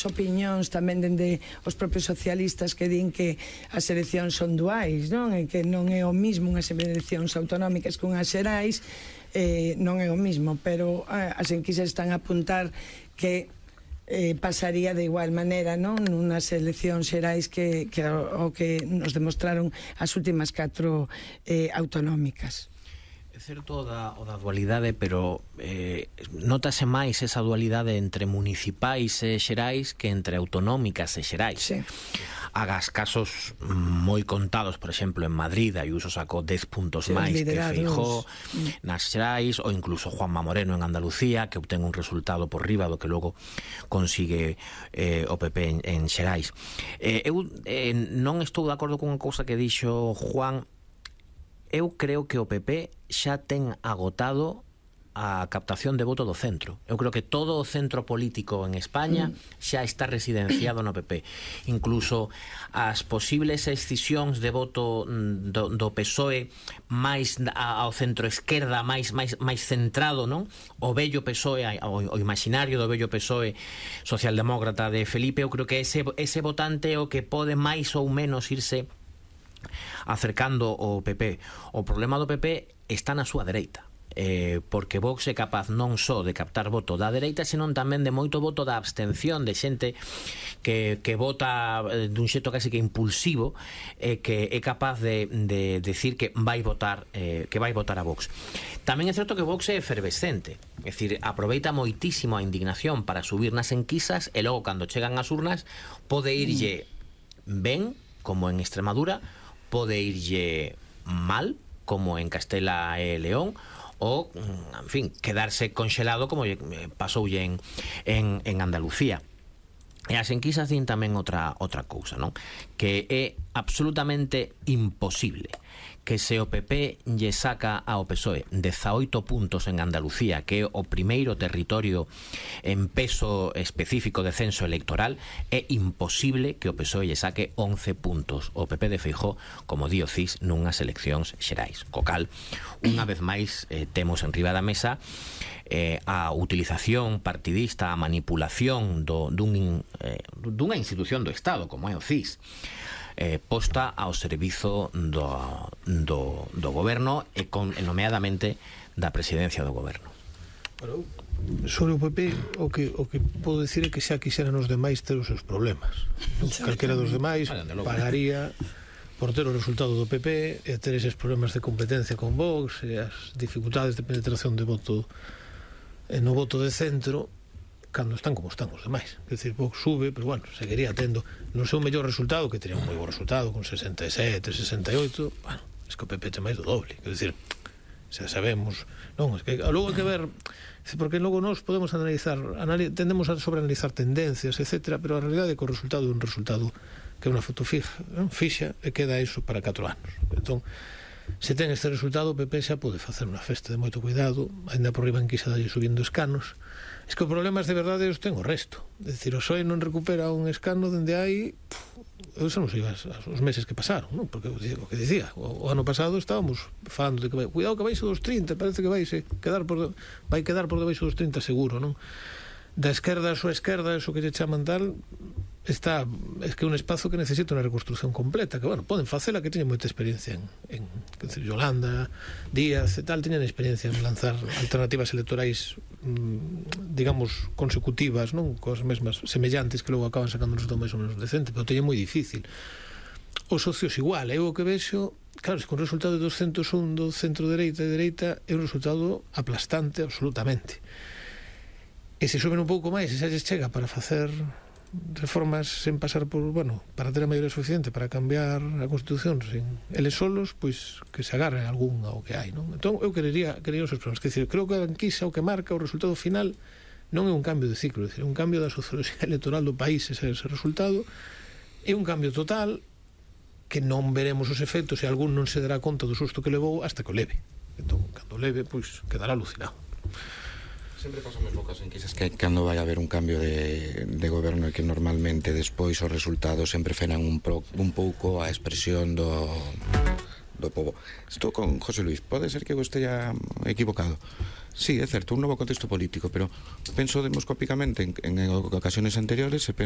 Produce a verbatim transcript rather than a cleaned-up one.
opinións tamén dende os propios socialistas que din que as eleccións son duais, non? E que non é o mismo unhas eleccións autonómicas que unhas xerais, eh, non é o mismo, pero eh, as enquisas están a apuntar que eh, pasaría de igual maneira, non? Nunas eleccións xerais que, que o, o que nos demostraron as últimas catro eh, autonómicas. É certo o da, o da dualidade, pero eh, notase máis esa dualidade entre municipais e xerais que entre autonómicas e xerais. Sí. Hagas casos moi contados, por exemplo, en Madrid, Ayuso sacou dez puntos máis que Feijóo nas xerais, ou incluso Juanma Moreno en Andalucía, que obtén un resultado por riba do que logo consigue eh, o P P en, en xerais. Eh, eu eh, non estou de acordo con unha cousa que dixo Juan. Eu creo que o P P xa ten agotado a captación de voto do centro. Eu creo que todo o centro político en España xa está residenciado no P P. Incluso as posibles excisións de voto do, do P S O E máis ao centro esquerda, máis máis máis centrado, non? O vello P S O E, o, o imaginario do vello P S O E socialdemócrata de Felipe, eu creo que ese, ese votante é o que pode máis ou menos irse acercando o P P. O problema do P P está na súa dereita, eh, porque Vox é capaz non só de captar voto da dereita, senón tamén de moito voto da abstención, de xente que, que vota dun xeito casi que impulsivo, eh, que é capaz de, de decir que vai votar eh, que vai votar a Vox. Tamén é certo que Vox é efervescente, é dicir, aproveita moitísimo a indignación para subir nas enquisas e logo cando chegan as urnas pode irlle ben, como en Extremadura, pode irlle mal, como en Castela e León, ou, en fin, quedarse conxelado como pasoulle en, en, en Andalucía. E as enquisas din tamén outra, outra cousa, non? Que é absolutamente imposible que se o P P lle saca ao P S O E dezaoito puntos en Andalucía, que é o primeiro territorio en peso específico de censo electoral, é imposible que o P S O E lle saque once puntos o P P de Feijóo, como di o C I S, nunhas eleccións xerais. Co cal, unha vez máis, eh, temos en riba da mesa eh, a utilización partidista, a manipulación do, dun, eh, dunha institución do Estado, como é o C I S, Eh, posta ao servizo do, do, do goberno e, con, e nomeadamente da presidencia do goberno. Bueno, sobre o P P o que, o que podo dicir é que xa quixeran os demais ter os seus problemas. Calquera dos demais pagaría por ter o resultado do P P e ter eses problemas de competencia con Vox e as dificultades de penetración de voto no voto de centro cando están como están os demais. É dicir, Vox sube, pero bueno, seguiría tendo no seu mellor resultado, que teria un moi bo resultado con sesenta e sete, sesenta e oito, bueno, es que o P P ten máis do doble, é dicir, xa sabemos, non, es que logo hai que ver, porque logo nós podemos analizar, anali tendemos a sobreanalizar tendencias, etcétera, pero a realidade é que o resultado é un resultado que é unha foto fija, non? Fixa, e queda iso para catro anos. Entón, se ten este resultado, o P P xa pode facer unha festa de moito cuidado, ainda por riba en quisa dalle subindo escanos. Es que o problema de verdade os ten o resto. É dicir, o P S O E non recupera un escano dende hai, eu xa non sei os meses que pasaron, non? Porque o que dicía, o, o ano pasado estábamos falando de que vai, cuidado que vai dos trinta, parece que vai quedar por, vai quedar por debaixo dos trinta seguro, non? Da esquerda a súa esquerda, eso que lle chaman tal, está, es que é un espazo que necesita unha reconstrucción completa, que, bueno, poden facela, que teñen moita experiencia en, en que decir, Yolanda, Díaz e tal, teñen experiencia en lanzar alternativas electorais, mmm, digamos, consecutivas, non? Coas mesmas semellantes que logo acaban sacando un resultado máis ou menos decente, pero teñen moi difícil. Os socios igual, eu o que vexo, claro, es que un resultado de doscientos un do centro-dereita e dereita é un resultado aplastante absolutamente. E se suben un pouco máis, e xa lles chega para facer reformas sen pasar por, bueno, para ter a maioría suficiente para cambiar a Constitución sin eles solos, pois que se agarren algún ao que hai, non? Entón eu querería, querería os seus problemas, que decir, creo que a enquisa o que marca o resultado final non é un cambio de ciclo, é decir, un cambio da socioloxía electoral do país, ese, ese resultado é un cambio total que non veremos os efectos e algún non se dará conta do susto que levou hasta que o leve. Entón, cando leve, pois quedará alucinado. Sempre pasa o mesmo caso en quizás que cando vai haber un cambio de, de goberno e que normalmente despois os resultados sempre frenan un, pro, un pouco a expresión do, do povo. Estou con José Luis, pode ser que eu esteja equivocado. Sí, é certo, un novo contexto político, pero penso demoscópicamente en, en ocasiones anteriores e penso